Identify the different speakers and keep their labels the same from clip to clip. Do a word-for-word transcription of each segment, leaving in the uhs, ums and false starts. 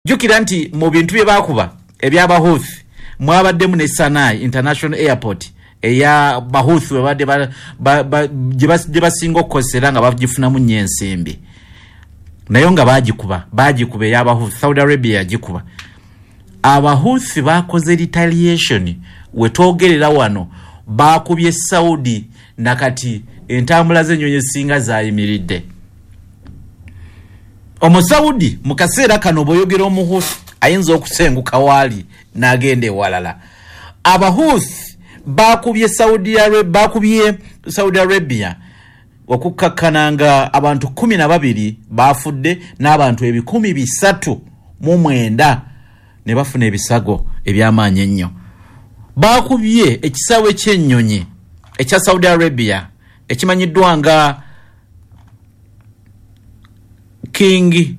Speaker 1: Jjukira nti mu bintu bye baakuba eby'Abahuthi mwabaddemu ne Sanaa International Airport eya Bahuthi, webadde gye basinga okukozesa era nga bagifunamu nnyo ensimbi, naye nga baagikuba baagikuba ey'Abahuthi. Saudi Arabia yagikuba. Abahuthi bakoze retaliation. Wetwogerera wano bakubye Saudi, nakati entambula z'ennyonyi ezisinga zayimiridde. Omusaudi mu kaseera kano bw'oyogera Omuhuthi ayinza okusenguka waali n'agenda ewalala. Abahuthi bakubye Saudi Arabia, bakubye Saudi Arabia okukkakkana nga abantu kumi na babiri bafudde n'abantu ebikumi bisatu mu mwenda ne bafuna ebisago eby'amaanyi ennyo. Bakubye ekisaawe ky'ennyonyi ekya Saudi Arabia ekimanyiddwa nga King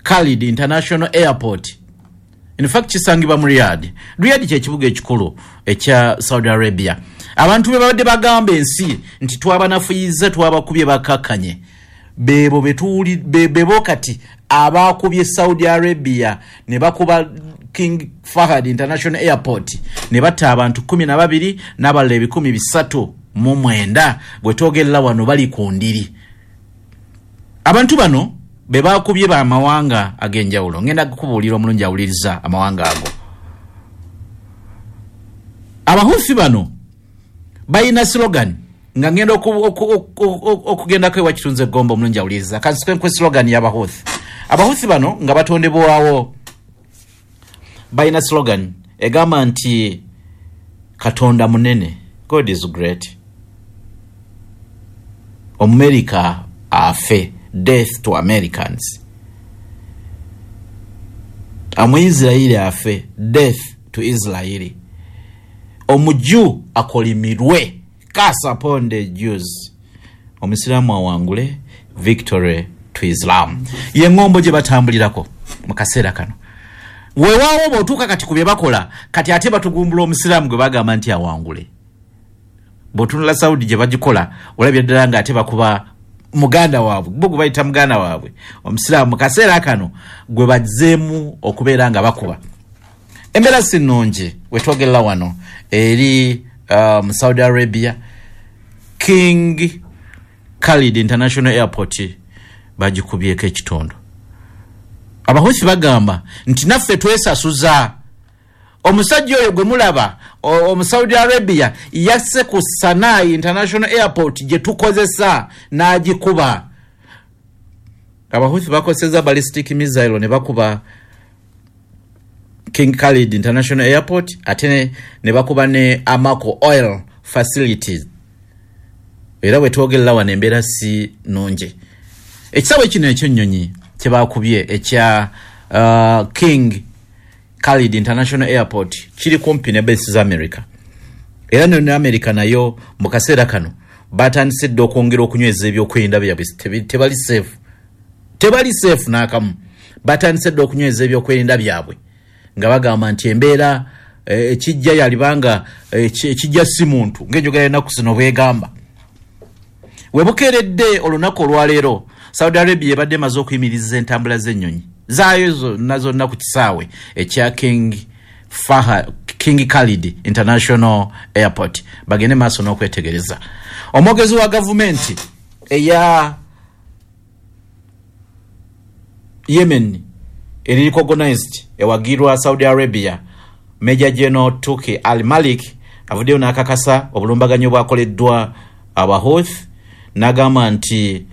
Speaker 1: Khalid International Airport. In fact, kisangibwa mu Riyadh. Riyadh kyekibuga ekikulu ekya Saudi Arabia. Abantu be babadde bagamba ensi nti twabanafuyiza, twabakubye, bakakkanye, bebo betuuli bebo kati abakubye Saudi Arabia ne bakuba King Fahad International Airport ne batta abantu kumi na babiri n'abalala ebikumi bisatu mu mwenda. Bwe twogerera wano bali ku ndiri. Abantu bano be bakubye bamawanga ag'enjawulo. Ngenda kukubuulira, omulungi awuliriza, amawanga ago. Abahusi bano balina slogan nga ngenda okugendako ewa Kitunzi Egomba. Omulungi awuliriza, kansikwenkwe slogan y'Abahuthi. Abahuthi bano nga batondebwawo balina slogan egamba nti Katonda munene, God is great, Omumerika afe, death to Americans, Omuisirairi afe, death to Israeli, Omuju akolimirwe, curse upon the Jews, Omusiraamu awangule, victory to Islam. Ye ŋŋombo gye batambulirako mu kaseera kano. Weewaawo bw'otuuka kati ku bye bakola kati, ate batugumbula Omusiraamu gwe bagamba nti awangule. Bw'otunula Saudi gye bagikola, olabye ddala nga ate bakuba muganda waabwe, bo gwe bayita muganda waabwe Omusiraamu. Mu kaseera kano gwe bazzeemu okubeera nga bakuba. Embeera si nnungi wetwogerera wano eri mu um, Saudi Arabia. King Khalid International Airport bagikubyeko ekitundu. Abahusi bagamba nti naffe twesasuza. Omusajja oyo gwe mulaba omu Saudi Arabia yasse ku Sanaa International Airport gye tukozesa n'agikuba. Abahusi bakozesa ballistic missile ne bakuba King Khalid International Airport, ate ne bakuba ne Aramco oil facilities. Era bwe twogerera wano embeera si nnungi. Ekisaawe kino ekyennyonyi kye bakubye ekya uh, King Khalid International Airport kiri kumpi ne base za America, era ne America nayo mu kaseera kano batandise dda okwongera okunyweza ebyokwerinda byabwe. Tebali safe, tebali safe n'akamu. Batandise dda okunyweza ebyokwerinda byabwe nga bagamba nti embeera ekijja yalibanga ekijja si muntu, ng'enjogera ennaku zino bwegamba. Webukeeredde olunaku olwaleero, Saudi Arabia ebadde emaze okuyimiriza entambula z'ennyonyi zaayo zonna zonna ku kisaawe ekya King Faha, King Khalid International Airport, bagende maaso n'okwetegereza. Omwogezi wa gavumenti eya Yemen eri recognized ewagirwa Saudi Arabia, Major General Tuki Al Malik, avuddeyo n'akakasa obulumbaganyi obwakoleddwa Abahuth, n'agamba nti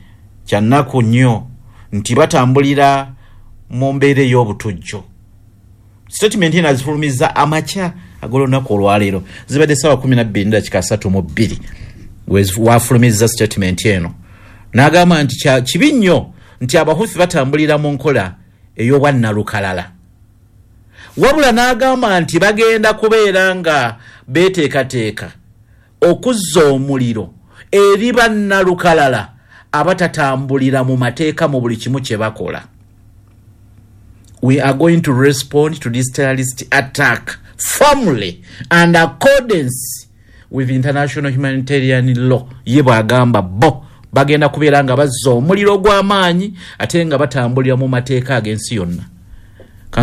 Speaker 1: kyannaku nnyo nti batambulira mu mbeera ey'obutujju. Statement eno azifulumiza amakya ag'olunaku olwaleero, zibadde saawa kumi nabbiri dakika asatu mu bbiri wafulumiza statement eno, n'agamba nti kibi nnyo nti Abahuthi batambulira mu nkola ey'obwannalukalala, wabula n'agamba nti bagenda kubeera nga beeteekateeka okuzza omuliro eri bannalukalala abatatambulira mu mateeka mu buli kimu kye bakola. "We are going to respond to this terrorist attack firmly and accordance with international humanitarian law." Ye bw'agamba, bo bagenda kubeera nga bazza omuliro gw'amaanyi ate nga batambulira mu mateeka ag'ensi yonna.